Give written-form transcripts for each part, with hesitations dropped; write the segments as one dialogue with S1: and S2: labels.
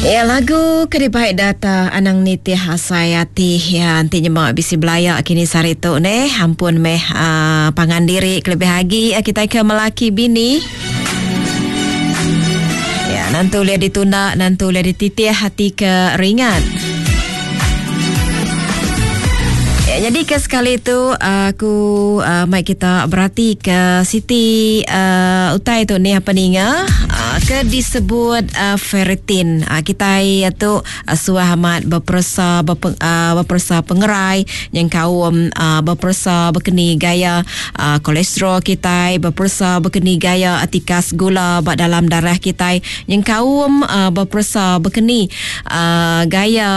S1: Ya lagu ke dibai data anang nitih asai ati ya enti nyema bisi belaya kini sehari tu neh ampun meh uh, pangan diri kelebih agi uh, kita ke melaki bini. Ya nantu ulih ditunda nantu ulih dititih hati ke ringat. Ya, jadi ke sekali tu aku uh, mai kita berati ke siti uh, utai tu ni apa ninga uh, ke disebut uh, ferritin. Uh, kita tu uh, suah amat beperesa berpe, uh, beperesa pengerai nyengkaum uh, beperesa bekeni gaya uh, kolesterol kita, beperesa bekeni gaya tikas gula ba dalam darah kita, nyengkaum uh, beperesa bekeni uh, gaya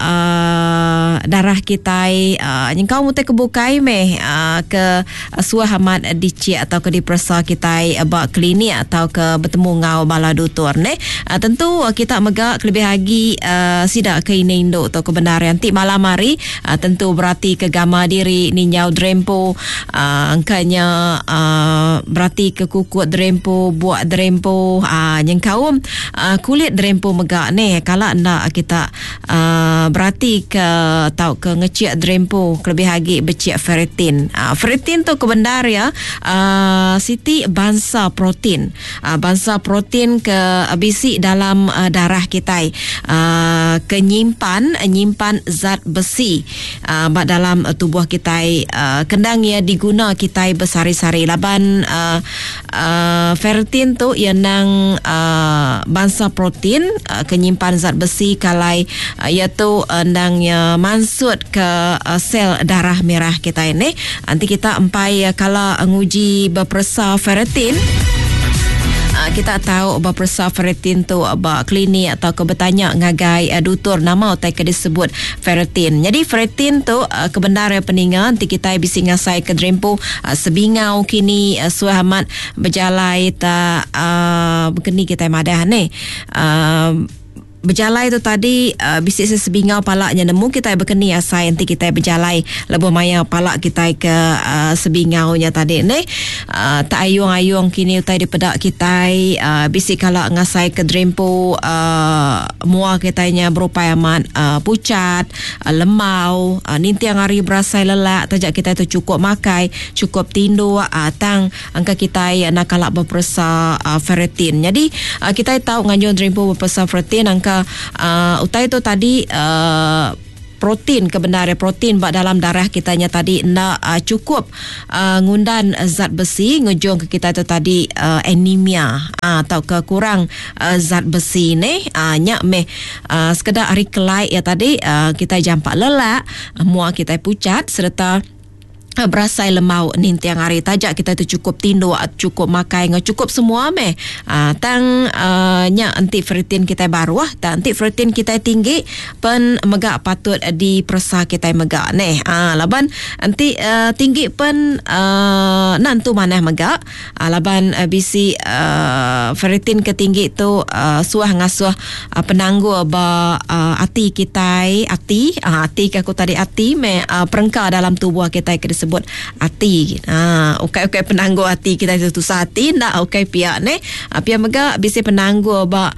S1: uh, darah kitai uh, nyengkaum utai ke bukai meh uh, ke suah amat dicik atau ke diperesa kitai ba klinik atau ke betemu enggau bala dutur neh. Uh, tentu uh, kita mega kelebih agi uh, sida ke ini indu tu ke bendar enti malam hari uh, tentu berati ke gama diri ninjau derempu uh, engkanya uh, berati ke kukut derempu buak derempu uh, nyengkaum Uh, kulit derempu mega neh kala enda kita uh, berati ke tauka ngecik derempu kelebih agi becik ferritin. Uh, ferritin tu kebendar ya uh, siti bansa protein. Uh, bansa protein ke bisi dalam uh, darah kitai uh, ke nyimpan nyimpan zat besi uh, ba dalam uh, tubuh kitai uh, kendang ia diguna kitai besehari-sehari laban uh, Uh, ferritin tu iya nang uh, bansa protein uh, ke nyimpan zat besi kalai uh, iya tu endang iya mansut ke uh, sel darah merah kita ini. Nanti kita empai uh, kala nguji beperesa ferritin. Uh, kita tahu beperesa ferritin tu ba klinik atau ke betanya ngagai uh, dutur nama utai ke disebut ferritin. Jadi ferritin tu uh, kebenar ya peninga nanti kita bisi ngasai ke derimpu Sebingau kini suah amat bejalai ta bekeni kitai madah neh. Bejalai tu tadi bisi sesebingau pala nya nemu kitai bekeni asai enti kitai bejalai lebuh maya pala kitai ke sebingau nya tadi neh. Tak ayung-ayung kini utai dipeda kitai bisi kala ngasai ke derimpu mua kitai nya berupai amat puchat. Lembau, ninting hari berasai lelak taja kitai tu chukup makai, chukup tinduk tang engka kitai enda kala beperesa ferritin. Nyadi kitai tau nganjung derimpu beperesa ferritin engka utai tu tadi protein ke bendar iya protein ba dalam darah kitai nya tadi enda chukup ngundan zat besi ngujungka kitai tu tadi anemia tauka kurang zat besi neh. Nya meh Uh, sekeda ari kelai iya tadi uh, kitai jampat lelak, mua kitai pucat sereta uh, berasai lembau ninting hari taja kitai tu cukup tinduk, cukup makai enggau cukup semua meh. Uh, tang uh, nya enti ferritin kitai baruh, tang enti ferritin kitai tinggi pen mega patut diperesa kitai mega neh. Uh, laban enti uh, tinggi pen uh, enda entu manah mega. Laban bisi ferritin ke tinggi tu suah ngasuh penanggul ba ati kitai, ati, ati ke aku tadi ati meh perengka dalam tubuh kitai ke disebut ati. Ukai ukai penanggul ati kitai tu tusah ati enda ukai pia neh. Pia mega bisi penanggul ba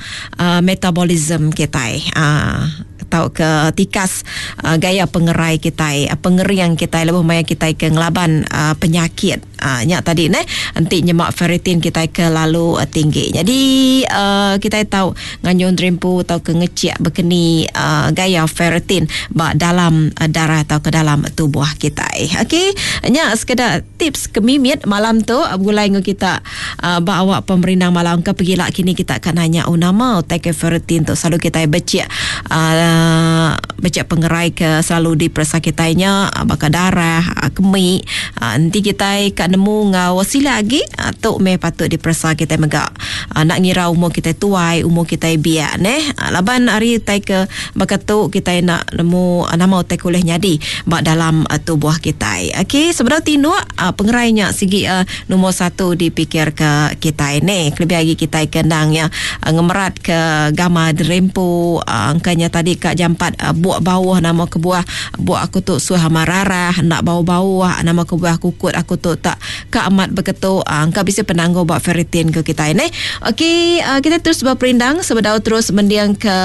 S1: metabolism kitai. Tauka tikas gaya pengerai kitai, pengering kitai lebuh maya kitai ke ngelaban penyakit. Nya tadi neh enti nyema ferritin kitai kelalu tinggi. Nyadi kitai tau nganjung derimpu tauka ngechik bekeni gaya ferritin ba dalam darah tauka dalam tubuh kitai. Okey, nya sekeda tips ke mimit malam tu begulai enggau kita ba awak pemerindang malam ke pegila kini kita ka nanya oh nama utai ke ferritin tu selalu kitai bechik bechik pengerai ke selalu diperesa kitai nya baka darah, kemi. Enti kitai ka nemu enggau sila agi tu meh patut diperesa kitai mega. Enda ngira umur kitai tuai, umur kitai biak neh. Laban ari utai ke baka tu kitai enda nemu nama utai ke ulih nyadi ba dalam tubuh kitai. Okey sebedau tinduk pengerai nya sigi Nombor satu dipikirka kitai neh kelebih agi kitai ke endang iya ngemeratka gambar derempu engka nya tadi ka jampat. buk bauh, nama kebuah buk aku tu suah amat rarah, enda bau-bau, nama kebuah kukut aku tu tak ka amat beketu. Engka bisi penanggul ba ferritin ke kitai neh. Okey, kita terus beperindang sebedau terus mending ke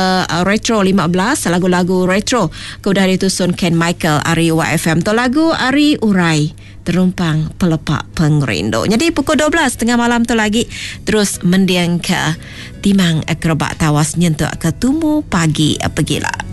S1: Retro 15 lagu-lagu retro ke udah ditusun Ken Michael ari YFM. Tu lagu ari Urai Terumpang Pelepa Pengerindu. Nyadi pukul 12 tengah malam tu lagi terus mending ke Timang Kerebak Tawas nyentuk ke tumu pagi pegila.